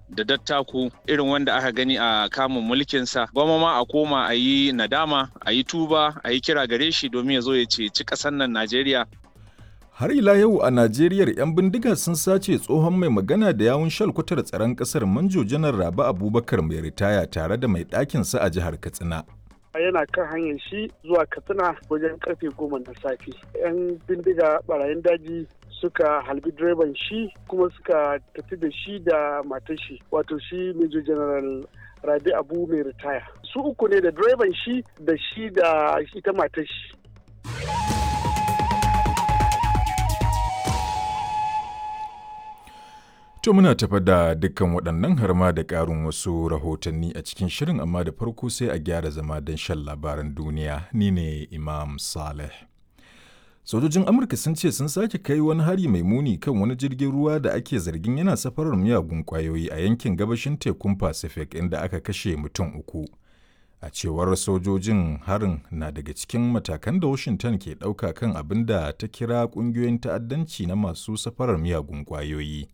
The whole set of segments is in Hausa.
da dattako irin wanda aka gani a kamun mulkinsa. Gwamma ma a koma a yi nadama, a yi tuba, a yi kira gare shi domin ya zo ya ceci ƙasar nan Najeriya. Har ila yau a Najeriya, 'yan bindiga sun sace tsohon mai magana da yawun shalkwatar tsaron kasar, Manjo Janar Rabi Abubakar mai ritaya, tare da mai ɗakinsa a jihar Katsina. Yana kan hanyar shi zuwa Katsina wajen karfe 10 na safe, 'yan bindiga barayin daji suka halbi direban shi kuma suka tafi da shi da matar shi, wato shi Major General Rabi Abu mai ritaya. Su uku ne, da direban shi da shi da ita matar shi. To, muna tafa da dukkan waɗannan har ma da ƙarin wasu rahotanni a cikin shirin, amma da farko sai a gyara zama don shan labaran duniya. Ni ne Imam Saleh. Sojojin Amurka sun ce sun sake kai wani hari mai muni kan wani jirgin ruwa da ake zargin yana safarar miyagun ƙwayoyi a yankin gabashin tekun Pacific, inda aka kashe mutum 3. A cewar sojojin, harin na daga cikin matakan da Washington ke ɗauka kan abin da ta kira ƙungiyoyin ta'addanci na masu safarar miyagun ƙwayoyi.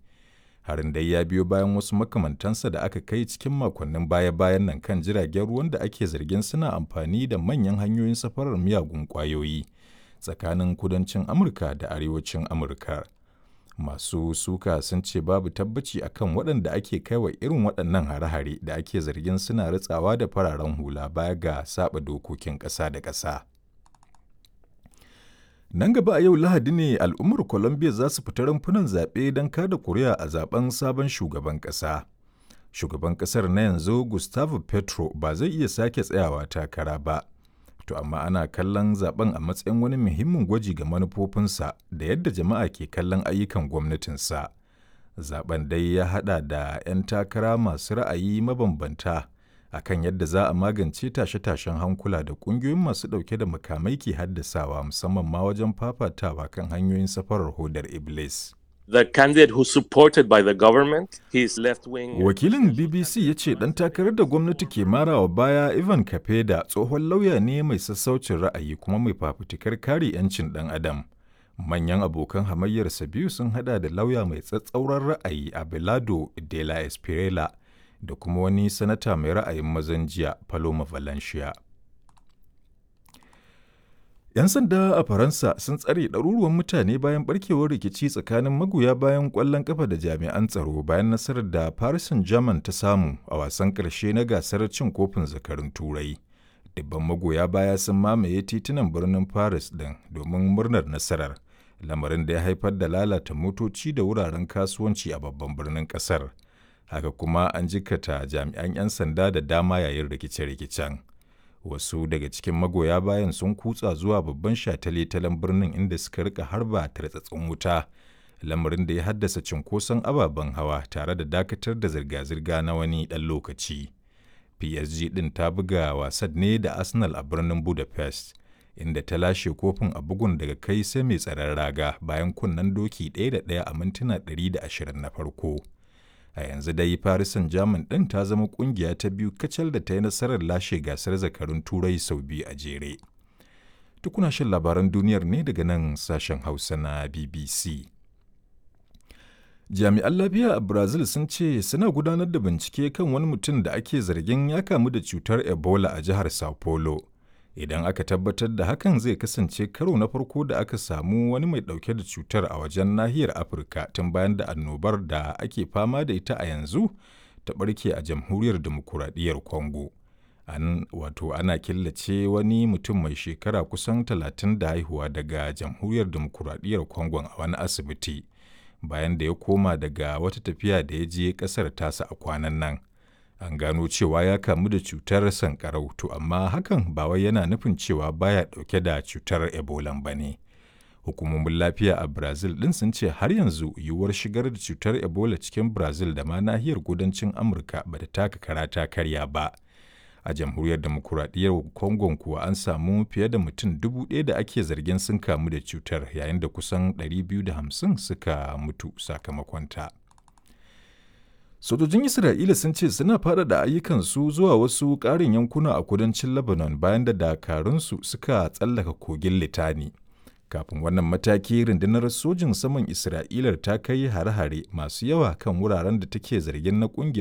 Harin dai ya biyo bayan wasu makamantansa da aka kai cikin makonnin baya-bayan nan kan jiragen ruwan da ake zargin suna amfani da manyan hanyoyin safarar miyagun ƙwayoyi tsakanin kudancin Amurka da arewacin Amurka. Masu suka sun ce babu tabbaci akan waɗanda ake kaiwa irin waɗannan hare-hare da ake zargin suna ritsawa da fararen hula baya ga saba dokokin ƙasa da ƙasa. Nan gaba a yau Lahadi ne al'ummar Colombia za su fita rumfunan zaɓe don kada kuri'a a zaben sabon shugaban ƙasa. Shugaban ƙasar na yanzu, Gustavo Petro, ba zai iya sake tsayawa takara ba. To amma ana kallon zaben a matsayin wani muhimmin gwaji ga manufofinsa da yadda jama'a ke kallon ayyukan gwamnatinsa. Zaben dai ya haɗa da 'yan takara masu ra'ayi mabambanta akan yadda za a magance tashe-tashen hankula da ƙungiyoyin masu ɗauke da makamai ke haddasawa, musamman ma wajen fafatawa kan hanyoyin safarar hodar Iblis. The candidate who's supported by the government, his left wing. Wakilin BBC ya ce ɗan takarar da gwamnati ke marawa baya, Ivan Kapeda, tsohon lauya ne mai sassaucin ra'ayi kuma mai fafutukar kare 'yancin ɗan adam. Manyan abokan hamayyarsa biyu sun hada da lauya mai tsatsauran ra'ayi Abelardo de la Espriella da kuma wani sanata mai ra'ayin mazan jiya, Paloma Valencia. 'Yan sanda a Faransa sun tsare ɗaruruwan mutane bayan barkewar rikici tsakanin magoya bayan ƙwallon ƙafa da jami'an tsaro bayan nasarar da Paris Saint-Germain ta samu a wasan ƙarshe na gasar cin kofin zakarun Turai. Dubban magoya baya sun mamaye titunan birnin Paris ɗin domin murnar nasarar, lamarin da ya haifar da lalata motoci da wuraren kasuwanci a babban birnin ƙasar. Haka kuma an jikata jami'an 'yan sanda da dama yayin rikice-rikicen. Wasu daga cikin magoya bayan sun kutsa zuwa babban shataletalen birnin, inda suka rika harba tartsatsin wuta, lamarin da ya haddasa cinkoson ababen hawa tare da dakatar da zirga-zirga na wani ɗan lokaci. PSG ɗin ta buga wasan ne da Arsenal a birnin Budapest, inda ta lashe kofin a bugun daga kai sai mai tsaron raga bayan kunnen doki 1 da 1 a mintuna 120 na farko. A yanzu dai Paris Saint-Germain ɗin ta zama ƙungiya ta biyu kacal da ta yi nasarar lashe gasar zakarun Turai sau biyu a jere. Tukuna shan labaran duniyar ne daga nan sashen Hausa na BBC. Jami'an lafiya a Brazil sun ce suna gudanar da bincike kan wani mutum da ake zargin ya kamu da cutar Ebola a jihar Sao Paulo. Idan aka tabbatar da hakan, zai kasance karo na farko da aka samu wani mai ɗauke da cutar a wajen nahiyar Afirka tun bayan da annobar da ake fama da ita a yanzu ta ɓarke a Jamhuriyar Dimokuraɗiyyar Congo. An wato ana killace wani mutum mai shekara kusan 30 da haihuwa daga Jamhuriyar Dimokuraɗiyyar Congo a wani asibiti bayan da ya koma daga wata tafiya da ya je ƙasar tasa a kwanan nan. An gano cewa ya kamu da cutar sankarau, to amma hakan ba wai yana nufin cewa baya dauke da cutar Ebola ba ne. Hukumomin lafiya a Brazil din sun ce har yanzu yiwuwar shigar da cutar Ebola cikin Brazil da ma nahiyar kudancin Amurka ba ta taka kara ta karya ba. A Jamhuriyar Demokuraɗiyyar Congo kuwa, an samu fiye da mutum 1,000 da ake zargin sun kamu da cutar, yayin da kusan 250 suka mutu sakamakonta. Sojojin Isra'ila sun ce suna faɗaɗa ayyukansu zuwa wasu ƙarin yankuna a kudancin Lebanon bayan da dakarunsu suka tsallaka kogin Litani. Kafin wannan mataki, rundunar sojin saman Isra'ilar ta kai hare-hare masu yawa kan wuraren da take zargin na ƙungiyar